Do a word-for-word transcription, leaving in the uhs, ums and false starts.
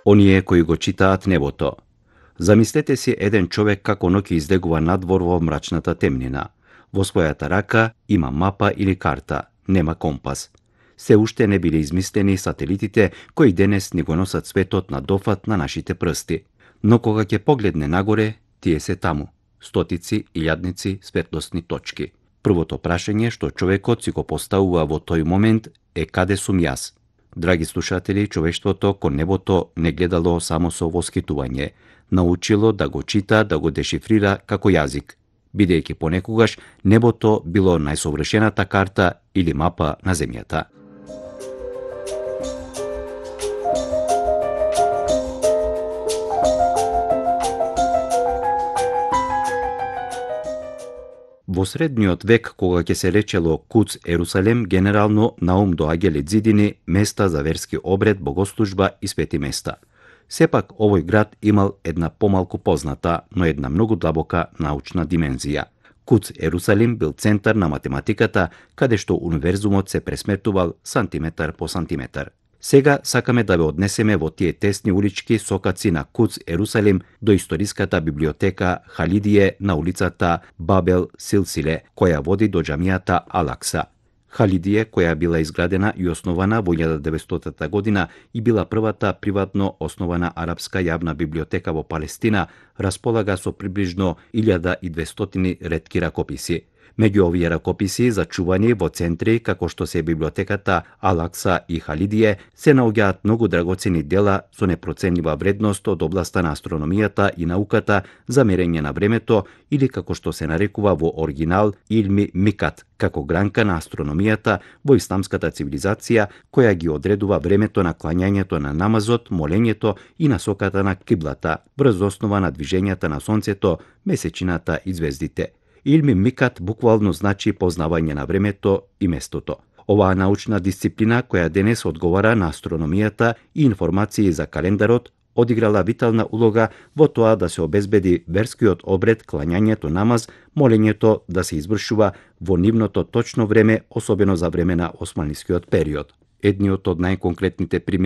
оние кои го читаат небото. Замислете си еден човек како ноќе излегува надвор во мрачната темнина. Во својата рака има мапа или карта, нема компас. Се уште не биле измислени сателитите кои денес ни го носат светот на дофат на нашите прсти. Но кога ќе погледне нагоре, тие се таму. Стотици, илјадници, светлосни точки. Првото прашање што човекот си го поставува во тој момент е каде сум јас? Драги слушатели, човештвото кон небото не гледало само со воскитување, научило да го чита, да го дешифрира како јазик, бидејќи понекогаш небото било најсовршената карта или мапа на земјата. Во средниот век, кога ќе се речело Куц Ерусалем, генерално на ум доаѓале ѕидини, места за верски обред, богослужба и свети места. Сепак, овој град имал една помалку позната, но една многу длабока научна димензија. Куц Ерусалим бил центар на математиката, каде што универзумот се пресметувал сантиметар по сантиметар. Сега сакаме да ве однесеме во тие тесни улички сокаци на Куц Ерусалим до историската библиотека Халидие на улицата Бабел Силсиле, која води до џамијата Алакса. Халидие, која била изградена и основана во илјада деветстотина година и била првата приватно основана арапска јавна библиотека во Палестина, располага со приближно илјада и двестотини ретки ракописи. Меѓу овие ракописи, зачувани во центри како што се библиотеката Алакса и Халидие, се наоѓаат многу драгоцени дела со непроценлива вредност од областа на астрономијата и науката за мерење на времето или како што се нарекува во оригинал Илми Микат, како гранка на астрономијата во исламската цивилизација која ги одредува времето на клањањето на намазот, молењето и насоката на киблата, врз основа на движењата на сонцето, месечината и звездите. Илми Микат буквално значи познавање на времето и местото. Оваа научна дисциплина, која денес одговара на астрономијата и информации за календарот, одиграла витална улога во тоа да се обезбеди верскиот обред, клањањето намаз, молењето да се извршува во нивното точно време, особено за време на османлискиот период. Едниот од најконкретните примери